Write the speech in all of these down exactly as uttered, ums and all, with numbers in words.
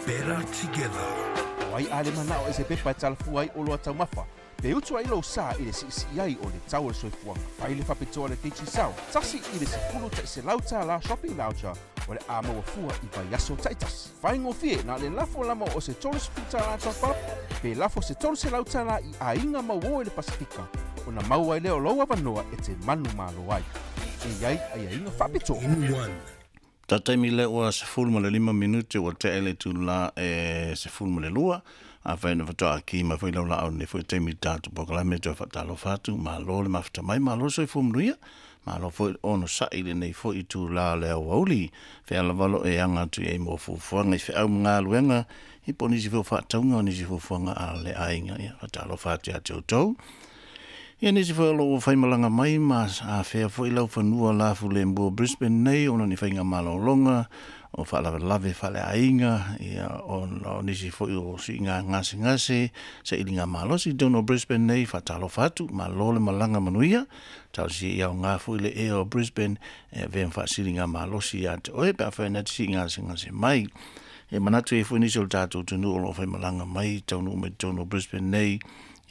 Better together. O ai ale manao e se pepa e talafua ai o loa taumafa. Pe utu ai lou sa i le siisii ai o le tau o le soifuaga. Fai le faapitoa le Digicel, tasi i le sefulu ta'iselau tālā shopping voucher o le a maua fua i vaiaso ta'itasi. Faigofie na le lafo lama o se tolu sefulu tālā top up, pe lafo se tolu selau tālā i aiga mauō i le Pasifika, ona maua ai lea o lou avanoa e te manumalo ai. E i ai aiaiga faapitoa. In one. Ta taimi le ua sefulu ma le lima minute ua tea le itulā e sefulu ma le lua. Afai na faatoa ki mai foi lau laau nei foi taimi tatou polokalame toe faatalofa atu, malo le mafuta mai, malo le soifua manuia, malo foi onosa'i i lenei foi itulā o le aoauli. Fea lava lo e aga atu i ai mo fuafuaga i feau ma galuega i po o nisi foi o faatauga o nisi fuafuaga a le aiga, ia faatalofa atu ia te outou. Ia nisi foi o loo ua faimalaga mai ma afea foi lau fanua lafulemu o Brisbane nei ona ni faiga malologa o faalavelave faaleaiga, ia ona o nisi foi o siiga gasegase sailiga malosi i totonu o Brisbane nei, faatalofa atu, malo le malaga manuia. Talosia ia aoga foi le ea o Brisbane e avea ma faasiliga malosi ia te oe pe afai na te siiga gasegase mai. E manatu ai foi nisi o le tatou atunuu o loo faimalaga mai taunuu mai totonu o Brisbane nei,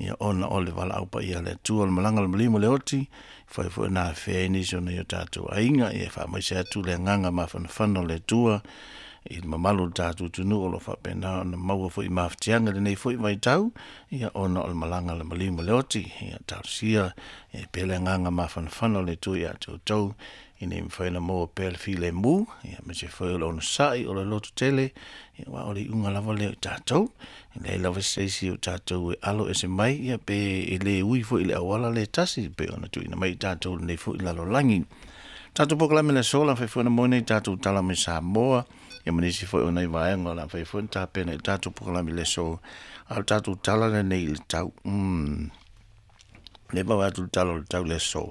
ia ona o le valaau paia a le Atua o le malaga o le maliu ma le oti, fai foi na afea ai nisi o nai o tatou aiga, ia e faamaise atu le agaga mafanafana o le Atua i le mamalu o le tatou atunuu o lo o faapena ona maua foi mafatiaga i lenei foi vaitau, ia ona o le malaga a le maliu ma le oti. Ia talosia e pea le agaga mafanafana o le Atua ia te outou ina ia mafai ona maua pea le filemu, ia aemaise foi o le onosai o le loto tele, ia aua o le iuga lava lea o tatou. E leai lava se isi o tatou e alo ese mai, ia pe e le ui foi i le auala le tasi pei ona tuuina mai i tatou i lenei foi lalolagi. Tatou polokalame le aso la fai foi na moe nei tatou tala mai Samoa, ia ma nisi foi o nai vaega o le a fai foi na tapena i le tatou polokalame le aso, a o le tatou tala lenei i le tau. Mm. Le vavae atu le tala o le tau le aso.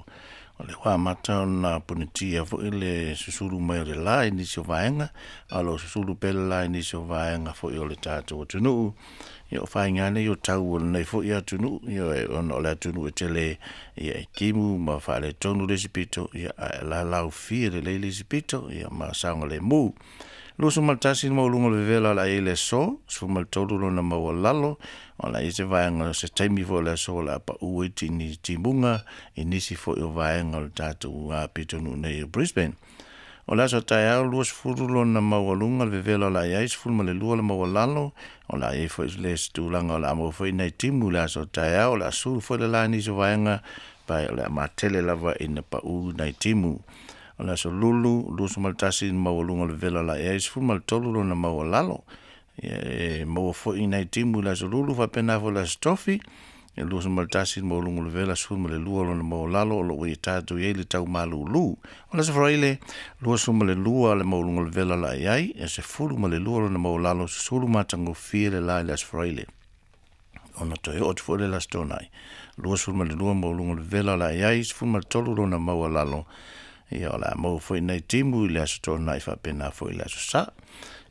O le ua amata ona punitia foi le susulu mai o le la i nisi o vaega, a o lo o susulu pea le la i nisi o vaega foi o le tatou atunuu. Ia o faiga nei o tau o lenei foi atunuu, ia ona o le atunuu e tele ia e timu ma faaletonu le isi pito, ia ae lalaufie lelei le isi pito, ia ma saogalemu. Luasefulu ma le tasi le maualuga o le vevela o le a i ai le aso, sefulu ma le tolu lona maualalo, o le a i ai se vaega o se taimi foi o le aso o le a pau ai tini timuga i nisi foi o vaega o le tatou pitonuu nei o Brisbane. O le aso taeao luasefulu lona maualuga le vevela o le a i ai, sefulu ma le lua le maualalo, o le a i ai foi le isi tulaga o le a maua foi nai timu i le aso taeao, o le a sulu foi le la i nisi o vaega, pae o le a matele lava ina pau nai timu. O le aso Lulu, luasefulu ma le tasi le maualuga o le vevela o le a i ai, sefulu ma le tolu lona maualalo. Ia e maua foi nai timu i le aso Lulu, faapena foi le aso Tofi, e luasefulu ma le tasi le maualuga o le vevela, sefulu ma le lua lona maualalo o lo o ua ia tatou i ai le tau malūlū. O le aso Faraile, luasefulu ma le lua le maualuga o le vevela o le a i ai, e sefulu ma le lua lona maualalo, susulu matagofie le la i le aso Faraile. Ona toe oo atu foi lea i le Aso Toonai, luasefulu ma le lua maualuga o le vevela o le a i ai, sefulu ma le tolu lona maualalo, ia o le a maua foi nai timu i le Aso Toonai faapena foi i le Aso Sa.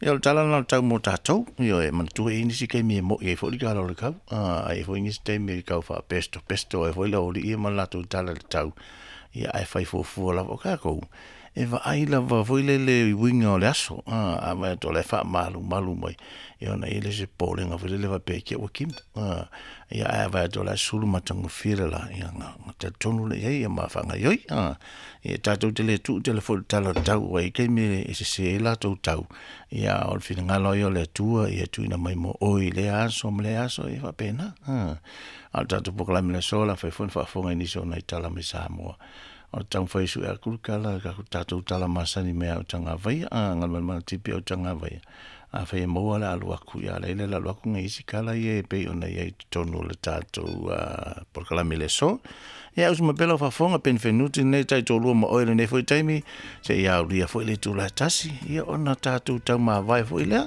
Ia o le tala lena o le tau mo tatou, ia e manatua e i ai nisi taimi e mo'i ai foi le tala o le tau, a i ai foi nisi taimi e tau faapestopesto ai foi le aualii ia ma le latou tala i le tau, ia ae fai fuafua lava o tatou e vaai lava foi lele i uiga o le aso, a a vaai atu o la e faamalumalu mai, ia ona i ai lea o se popolega foi lele faapea i te i ua timu, a ia ae a vaai atu o la e sulu matagofie le la, ia ona talitonu lea i ai ia ma faagaoioi, a ia tatou te le tuu tele foi i le tala o le tau, aua e i ai taimi e sese ai latou tau, ia a o le finagalo lava ia o le Atua ia tuuina mai mo oe i lea aso ma lea aso, ia e faapena, a. A o le tatou polokalame i le aso, o le a fai foi ona faafofoga i nisi o nai tala mai Samoa. O le taumafai e sue atu le tala, tatou tala masani mai Autagavaia, a Galumalemana Tipi Autagavaia. Afai e maua le alu atu, ia a laila le alu atu nai isi tala ia e pei ona i ai i totonu o le tatou polokalame i le aso. Ia usu mai pea lau faafofoga, Penifenuti lenei taitoalua ma oe i lenei foi taimi, seia aulia foi le itula e tasi, ia ona tatou taumavae foi lea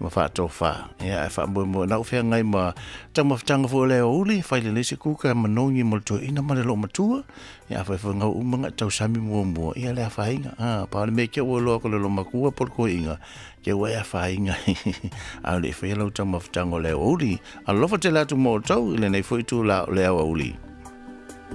ma faatofa. Ia ae faamoemoe na ou feagai ma taumafataga foi o le aoauli, fai lelei se kuka manogi mo le toeaina ma le loomatua. Ia afai foi gau uma na tausami muamua, ia le afaina. Ah, pa o le mea ke ua loa ko le loomatua po le toeaina, ke ua e afaina. A o le i faia lau taumafataga o le aoauli. Alofa tele atu mo outou i lenei foi itula o le aoauli.